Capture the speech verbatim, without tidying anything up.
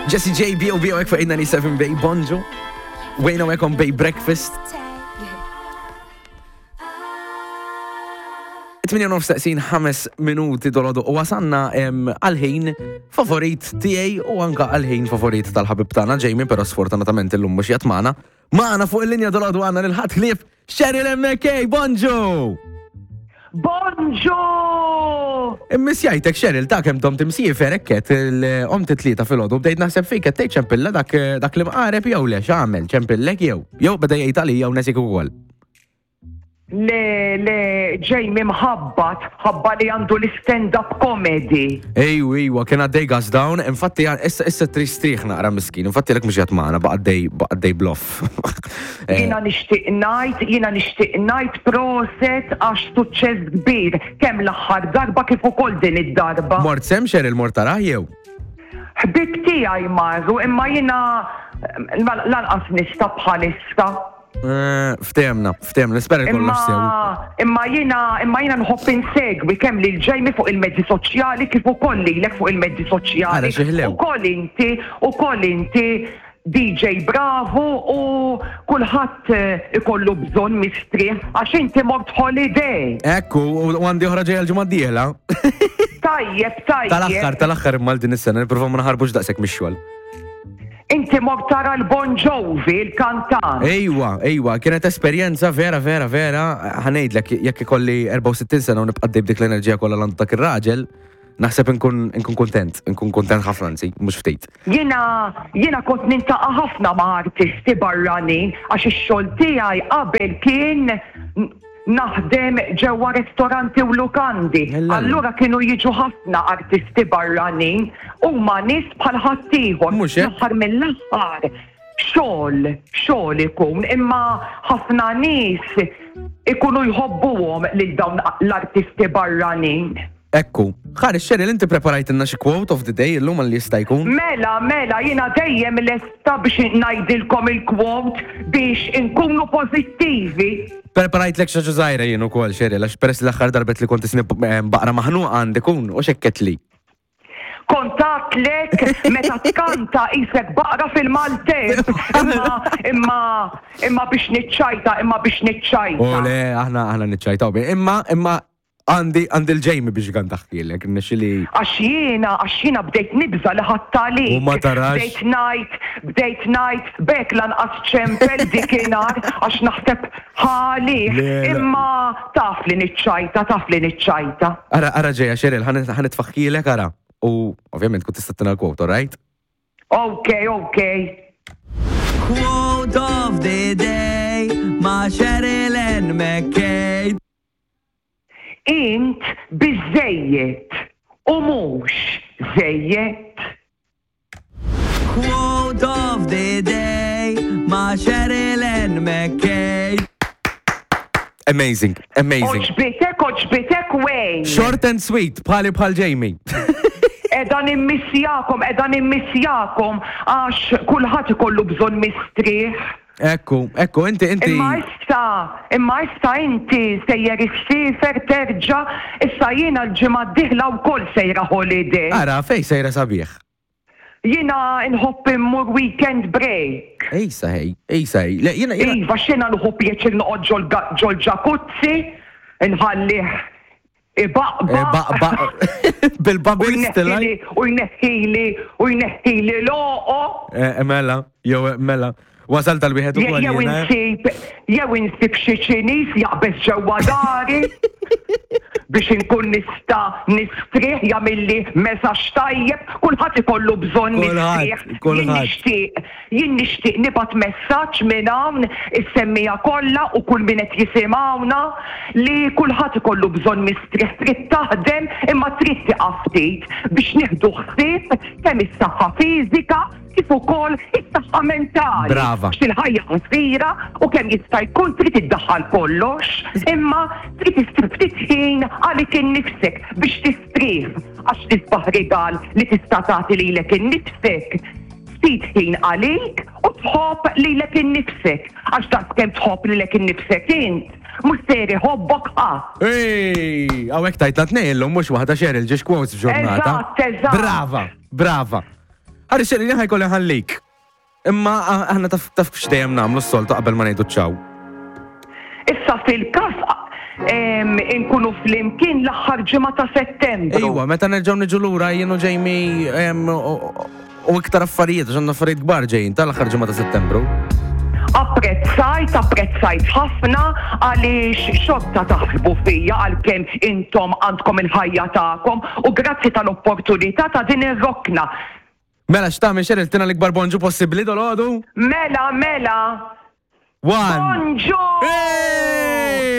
Jessie J, B O B hawnhekk fuq eight ninety-seven Bay, bonġu. Wejna hawnhekk on Bay Breakfast. tmienja u nofs ħames minuti dolodu u wasanna em, għal-ħin favorit tiegħi u anka għal-ħin favorit tal-ħabib tagħna Jamie, però sfortunatament illum mhux qiegħed magħna. Magħna fuq il-linja dolodu għandna lil ħadd ħlief Cheryl M K, bonġu! Bonġu! Immissjajtek, Cheryl, ta' kemm domt imsiefer ekket il-om titlieta filgħodu bdejt naħseb fik, qed tgħid ċempilla dak dak li mqareb jew le, x'għamel, ċempillek jew jew beda jgħid għalija u nesik ukoll. Le, le, Jamie mħabbat, ħabba li għandu l-stand-up comedy. Ejju, ejwa, kien għaddej gas down, infatti issa issa tristriħ naqra miskin, infatti lek mhux qiegħed magħna, baqa' għaddej baqa' għaddej bluff. Eh, Jiena nixtieq ngħid, jiena nixtieq ngħid proset għax suċċess kbir kemm l-aħħar darba kif ukoll din id-darba. Mort sem, Cheryl, mort tarah jew? Ħbib tiegħi marru, imma jiena eh, lanqas nista' bħalissa. Eh, Ftehemna, ftehemna, nispera li kollox sew. Imma imma jiena imma jiena nħobb insegwi kemm lil Jamie fuq il-mezzi soċjali kif ukoll lilek fuq il-mezzi soċjali. Ara xi ħlew. Ukoll inti, ukoll inti D J Bravo u kulħadd eh, ikollu bżonn mistrieħ għax inti mort holiday. Ekku, u u għandi oħra ġejja l-ġimgħa d-dieħla. Tajjeb, tajjeb. Tal-aħħar, tal-aħħar imma din is-sena nipprova ma naħarbux daqshekk mix-xogħol. Inti mort tara l-Bon Jovi, il-kantant. Ejwa, ejwa, kienet esperjenza vera, vera, vera. Ħa ngħidlek, jekk ikolli erbgħa u sittin sena u nibqa' b'dik l-enerġija kollha l dak ir-raġel, naħseb nkun nkun kontent, nkun kontent ħafna anzi, mhux ftit. Jiena jiena kont niltaqa' ħafna ma' artisti barranin għax ix-xogħol tiegħi qabel kien n- naħdem ġewwa ristoranti u lukandi. Ella. Allura kienu jiġu ħafna artisti barranin, huma nies bħal ħaddieħor. Mhux hekk? L-aħħar mill-aħħar xogħol, xogħol ikun, imma ħafna nies ikunu jħobbuhom lil dawn l-artisti barranin. Ekku, ħares Cheryl, inti preparajtilna xi quote of the day illum għal jista' jkun? Mela, mela, jiena dejjem lesta biex ngħidilkom il-quote biex inkunu pozittivi. Preparajtlek xi ħaġa żgħira jien ukoll, Cheryl, għax peress l-aħħar darbet li kont isni baqra maħnuqa għandi kun u xekket li. Kont għedtlek meta tkanta qisek baqra fil-maltemp. Imma, imma, imma biex niċċajta, imma biex niċċajta. U le, aħna aħna niċċajtaw. Imma imma għandi għandi l-Jamie biex kan taħkilek, nixi li. Għax jiena, għax jiena bdejt nibża li ħattalik. U ma tarax. Bdejt ngħid, bdejt ngħid, bek lanqas ċempel dikinhar, għax naħseb ħali. Le, le. Imma taf li niċċajta, taf li niċċajta. Ara, ara ġeja, Cheryl, ħa nitfaħkilek, ara. U ovvjament kont tista' tina l-quote, alright? Ok, ok. Quote of the day ma' Cheryl Ann McKay. Int biżejjed u mhux żejjed. Quote of the day ma' Cheryl Ann McKay. Amazing, amazing. Għoġbitek, għoġbitek, Wayne. Short and sweet, bħali bħal Jamie. Qiegħda nimmissjakom, qiegħda nimmissjakom għax kulħadd ikollu bżonn mistrieħ. Ekku, ekku, inti, inti. Imma issa, imma issa inti sejjer issiefer terġa', issa jiena l-ġimgħa d-dieħla wkoll sejra holiday. Ara, fej sejra sabiħ? Jiena nħobb immur weekend break. Ejsa hej, ejsa hej. Le, jiena, jiena. Iva, xena nħobb pjaċir noqgħod ġol- ġol-ġakuzzi, nħallih ibaqba. Eh, Ba, ba, bil-bubbles tilaj. U jneħħili, u jneħħili loqo. Eh, Mela, jew mela. Wasal tal-wieħed ukoll Jew jiena. insib, jew insib xi Ċiniż jaqbeż ġewwa dari biex inkun nista' nistrieħ, jagħmilli messaġġ tajjeb, kulħadd ikollu bżonn Kulħadd, mistrieħ. Jien kulħadd. nixtieq, jien nixtieq nibgħat messaġġ minn hawn is-semmiegħa kollha u kull min qed jisimgħuna li kulħadd ikollu bżonn mistrieħ, trid taħdem imma trid tieqaf ftit biex nieħdu ħsieb kemm is-saħħa fiżika kif ukoll is-saħħa mentali. Brava. Għax il-ħajja qasira u kemm jista' jkun trid iddaħħal kollox, imma trid issib ftit ħin għalik innifsek biex tistrieħ, għax tisbaħ rigal li tista' tagħti lilek innifsek. Ftit ħin għalik u tħobb lilek innifsek, għax daqs kemm tħobb lilek innifsek int, mhux ser iħobbok ħadd. Ej, hawnhekk tajtna tnejn illum mhux waħda, Cheryl, ġiex quotes f'ġurnata. Eżatt, eżatt. Brava, brava. Ħarri Cheryl, ħa jkolli nħallik. Imma aħna taf taf x'dejjem nagħmlu s-soltu qabel ma ngħidu ċaw. Issa fil-każ em, inkunu flimkien l-aħħar ġimgħa ta' Settembru. Ejwa, meta nerġgħu niġu lura jien u Jamie em, u u iktar affarijiet, għax għandna affarijiet kbar ġejjin tal-aħħar ġimgħa ta' Settembru. Apprezzajt, apprezzajt ħafna għaliex xorta taħsbu fija għalkemm intom għandkom il-ħajja tagħkom u grazzi tal-opportunità ta' din ir-rokna. Mela x'tagħmel, Cheryl, tina l-ikbar bonġu possibbli dolodu? Mela, mela, One. Bonġu! Hey!